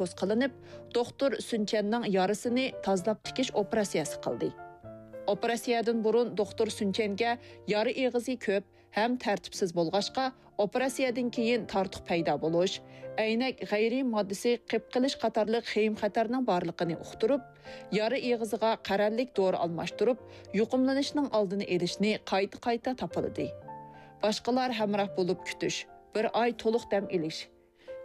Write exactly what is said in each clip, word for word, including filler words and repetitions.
تەشەببۇس قىلىنىپ، دوختۇر سۈنچەننىڭ يارىسىنى تازىلاپ تىكىش ئوپېراتسىيەسى قىلدى. ئوپېراتسىيەدىن بۇرۇن دوختۇر سۈنچەنگە يارا ئېغىزى كۆپ ھەم تەرتىپسىز بولغاچقا، ئوپېراتسىيەدىن كېيىن تارتۇق پەيدا بولۇش، ئەينەك غەيرىي ماددىسى قېپقېلىش قاتارلىق خېيىم-خەتەرنىڭ بارلىقىنى ئۇقتۇرۇپ، يارا ئېغىزىغا قەرەللىك دورا ئالماشتۇرۇپ، يۇقۇملىنىشنىڭ ئالدىنى ئېلىشنى قايتا-قايتا تاپىلىدى. باشقىلار ھەمراھ بولۇپ كۈتۈش، بىر ئاي تولۇق دەم ئېلىش،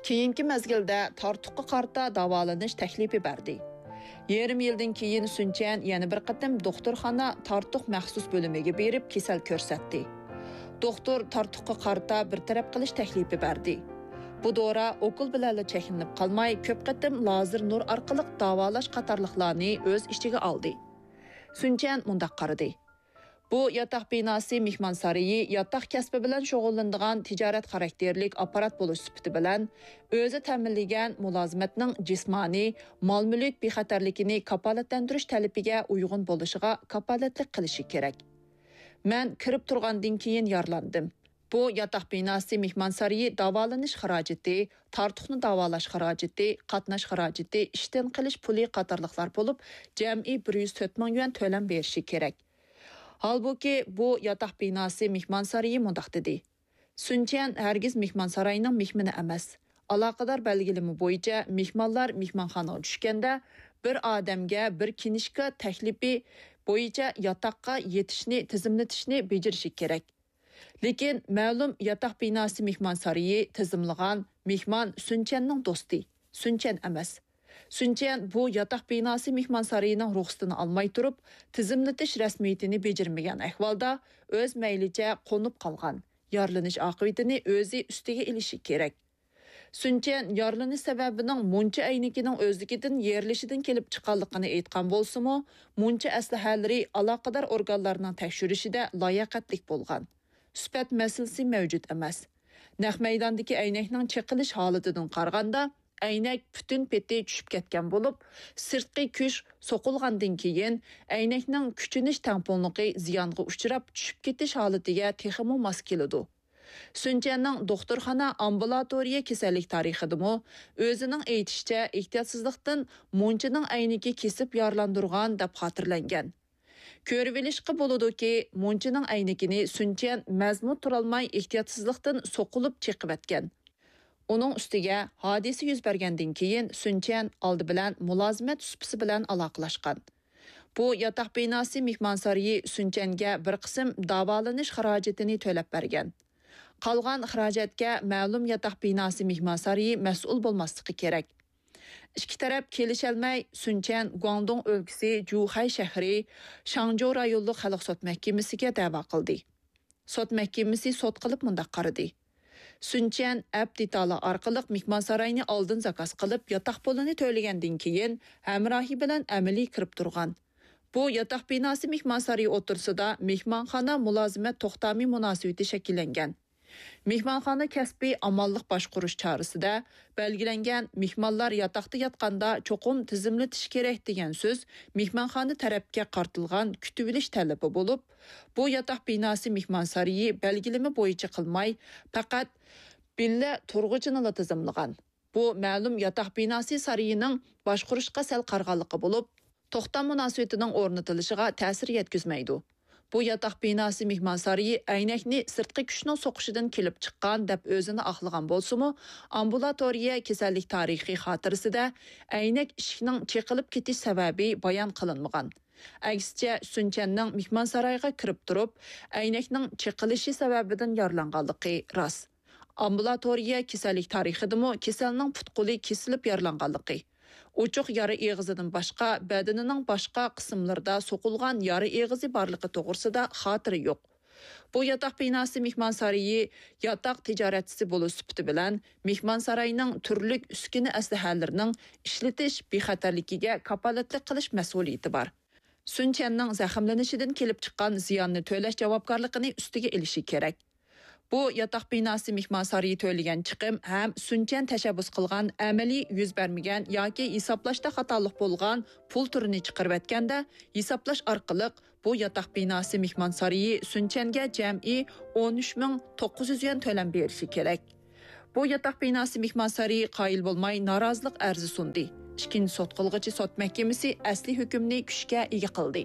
كېيىنكى مەزگىلدە تارتۇققا قارىتا داۋالىنىش تەكلىپى بەردى. يېرىم يىلدىن كېيىن سۈنچەن يەنە بىر قېتىم دوختۇرخانا تارتۇق مەخسۇس بۆلۈمىگە بېرىپ كېسەل كۆرسەتتى. دوختۇر تارتۇققا قارىتا بىر تەرەپ قىلىش تەكلىپى بەردى. بۇ دورا ئوكۇل بىلەنلا چەكلىنىپ قالماي، كۆپ قېتىم لازېر نۇر ئارقىلىق داۋالاش قاتارلىقلارنى ئۆز ئىچىگە ئالدى. سۈنچەن مۇنداق قارىدى. بۇ ياتاق بىناسى مېھمانسارىيى ياتاق كەسپى بىلەن شۇغۇللىنىدىغان تىجارەت خاراكتېرلىك ئاپپارات بولۇش سۈپىتى بىلەن ئۆزى تەمىنلىگەن مۇلازىمەتنىڭ جىسمانىي، مال-مۈلۈك بىخەتەرلىكىنى كاپالەتلەندۈرۈش تەلىپىگە ئۇيغۇن بولۇشىغا كاپالەتلىك قىلىشى كېرەك. مەن كىرىپ تۇرغاندىن كېيىن يارىلاندىم. بۇ ياتاق بىناسى مېھمانسارىيى داۋالىنىش خىراجىتى، تارتۇقنى داۋالاش خىراجىتى، قاتناش خىراجىتى، ئىشتىن قېلىش پۇلى قاتارلىقلار بولۇپ، جەمئىي بىر يۈز تۆت مىڭ يۈەن تۆلەم بېرىشى كېرەك. ھالبۇكى، بۇ ياتاق بىناسى مېھمانسارىيى مۇنداق دېدى: سۈنچيەن ھەرگىز مېھمانساراينىڭ مېھمىنى ئەمەس. ئالاقىدار بەلگىلىمە بويىچە مېھمانلار مېھمانخانىغا چۈشكەندە، بىر ئادەمگە بىر كىنىشكا تەكلىپى بويىچە ياتاققا يېتىشنى تىزىملىتىشنى بېجىرىشى كېرەك. لېكىن مەلۇم ياتاق بىناسى مېھمانسارىيى تىزىملىغان مېھمان سۈنچيەننىڭ دوستى، سۈنچيەن ئەمەس. سۈنچيەن بۇ ياتاق بىناسى مېھمانسارىيىنىڭ رۇخسىتىنى ئالماي تۇرۇپ، تىزىملىتىش رەسمىيىتىنى بېجىرمىگەن ئەھۋالدا ئۆز مەيلىچە قونۇپ قالغان، يارىلىنىش ئاقىۋىتىنى ئۆزى ئۈستىگە ئېلىشى كېرەك. سۈنچيەن يارىلىنىش سەۋەبىنىڭ مۇنچا ئەينىكىنىڭ ئۆزلۈكىدىن يېرىلىشىدىن كېلىپ چىققانلىقىنى ئېيتقان بولسىمۇ، مۇنچا ئەسلىھەلىرى ئالاقىدار ئورگانلارنىڭ تەكشۈرۈشىدە لاياقەتلىك بولغان. سۈپەت مەسىلىسى مەۋجۇت ئەمەس. نەق مەيداندىكى ئەينەكنىڭ چېقىلىش ھالىتىدىن قارىغاندا، ئەينەك پۈتۈن پېتى چۈشۈپ كەتكەن بولۇپ، سىرتقى كۈچ سوقۇلغاندىن كېيىن، ئەينەكنىڭ كۈچىنىش تەڭپۇڭلۇقى زىيانغا ئۇچراپ، چۈشۈپ كېتىش ھالىتىگە تېخىمۇ ماس كېلىدۇ. سۈنچيەننىڭ دوختۇرخانا ئامبۇلاتورىيە كېسەللىك تارىخىدىمۇ ئۆزىنىڭ ئېيتىشىچە ئېھتىياتسىزلىقتىن مۇنچىنىڭ ئەينىكى كېسىپ يارىلاندۇرغان دەپ خاتىرىلەنگەن. كۆرۈۋېلىشقا بولىدۇكى، مۇنچىنىڭ ئەينىكىنى سۈنچيەن مەزمۇت تۇرالماي ئېھتىياتسىزلىقتىن سوقۇلۇپ چېقىۋەتكەن. ئۇنىڭ ئۈستىگە ھادىسە يۈز بەرگەندىن كېيىن سۈنچيەن ئالدى بىلەن مۇلازىمەت سۇپىسى بىلەن ئالاقىلاشقان. بۇ ياتاق بىناسى مېھمانسارىيى سۈنچيەنگە بىر قىسىم داۋالىنىش خىراجىتىنى تۆلەپ بەرگەن. قالغان خىراجەتكە مەلۇم ياتاق بىناسى مېھمانسارىيى مەسئۇل بولماسلىقى كېرەك. ئىككى تەرەپ كېلىشەلمەي، سۈنچيەن گۇاڭدۇڭ ئۆلكىسى جۇخەي شەھىرى شاڭجۇ رايونلۇق خەلق سوت مەھكىمىسىگە دەۋا قىلدى. سوت مەھكىمىسى سوت قىلىپ مۇنداق قارىدى: سۈنچيەن ئەپ دېتالى ئارقىلىق مېھمانساراينى ئالدىن زاكاز قىلىپ، ياتاق پۇلىنى تۆلىگەندىن كېيىن، ھەمراھى بىلەن ئەمەلىي كىرىپ تۇرغان. بۇ ياتاق بىناسى مېھمانسارىيى ئوتتۇرىسىدا مېھمانخانا مۇلازىمەت توختامى مۇناسىۋىتى شەكىللەنگەن. مېھمانخانا كەسپىي ئامانلىق باشقۇرۇش چارىسىدە بەلگىلەنگەن مېھمانلار ياتاقتا ياتقاندا چوقۇم تىزىملىتىش كېرەك دېگەن سۆز مېھمانخانا تەرەپكە قارىتىلغان كۈتۈۋېلىش تەلىپى بولۇپ، بۇ ياتاق بىناسى مېھمانسارىيى بەلگىلىمە بويىچە قىلماي، پەقەت ۋىللا تۇرغۇچىنىلا تىزىملىغان. بۇ مەلۇم ياتاق بىناسى سارىيىنىڭ باشقۇرۇشقا سەل قارىغانلىقى بولۇپ، توختام مۇناسىۋىتىنىڭ ئورنىتىلىشىغا تەسىر يەتكۈزمەيدۇ. بۇ ياتاق بىناسى مېھمانسارىيى ئەينەكنى سىرتقى كۈچنىڭ سوقۇشىدىن كېلىپ چىققان دەپ ئۆزىنى ئاقلىغان بولسىمۇ، ئامبۇلاتورىيە كېسەللىك تارىخى خاتىرىسىدە ئەينەك ئىشىكنىڭ چېقىلىپ كېتىش سەۋەبى بايان قىلىنمىغان. ئەكسىچە، سۈنچەننىڭ مېھمانسارايغا كىرىپ تۇرۇپ، ئەينەكنىڭ چېقىلىشى سەۋەبىدىن يارىلانغانلىقى راست. ئامبۇلاتورىيە كېسەللىك تارىخىدىمۇ كېسەلنىڭ پۇت-قولى كېسىلىپ يارىلانغانلىقى، ئوچۇق يارا ئېغىزىدىن باشقا، بەدىنىنىڭ باشقا قىسىملىرىدا سوقۇلغان يارا ئېغىزى بارلىقى توغرىسىدا خاتىرە يوق. بۇ ياتاق بىناسى مېھمانسارىيى ياتاق تىجارەتچىسى بولۇش سۈپىتى بىلەن مېھمانساراينىڭ تۈرلۈك ئۈسكۈنە ئەسلىھەلىرىنىڭ ئىشلىتىش بىخەتەرلىكىگە كاپالەتلىك قىلىش مەسئۇلىيىتى بار. سۈن چيەننىڭ زەخىملىنىشىدىن كېلىپ چىققان زىياننى تۆلەش جاۋابكارلىقىنى ئۈستىگە ئېلىشى كېرەك. بۇ ياتاق بىناسى مېھمانسارىيى تۆلىگەن چىقىم ھەم سۈن چيەن تەشەببۇس قىلغان ئەمەلىي يۈز بەرمىگەن ياكى ھېسابلاشتا خاتالىق بولغان پۇل تۈرىنى چىقىرىۋەتكەندە، ھېسابلاش ئارقىلىق بۇ ياتاق بىناسى مېھمانسارىيى سۈن چيەنگە جەمئىي ئون ئۈچ مىڭ توققۇز يۈز يۈەن تۆلەم بېرىشى كېرەك. بۇ ياتاق بىناسى مېھمانسارىيى قايىل بولماي نارازىلىق ئەرزى سۇندى. ئىككىنچى سوت قىلغۇچى سوت مەھكىمىسى ئەسلى ھۆكۈمنى كۈچكە ئىگە قىلدى.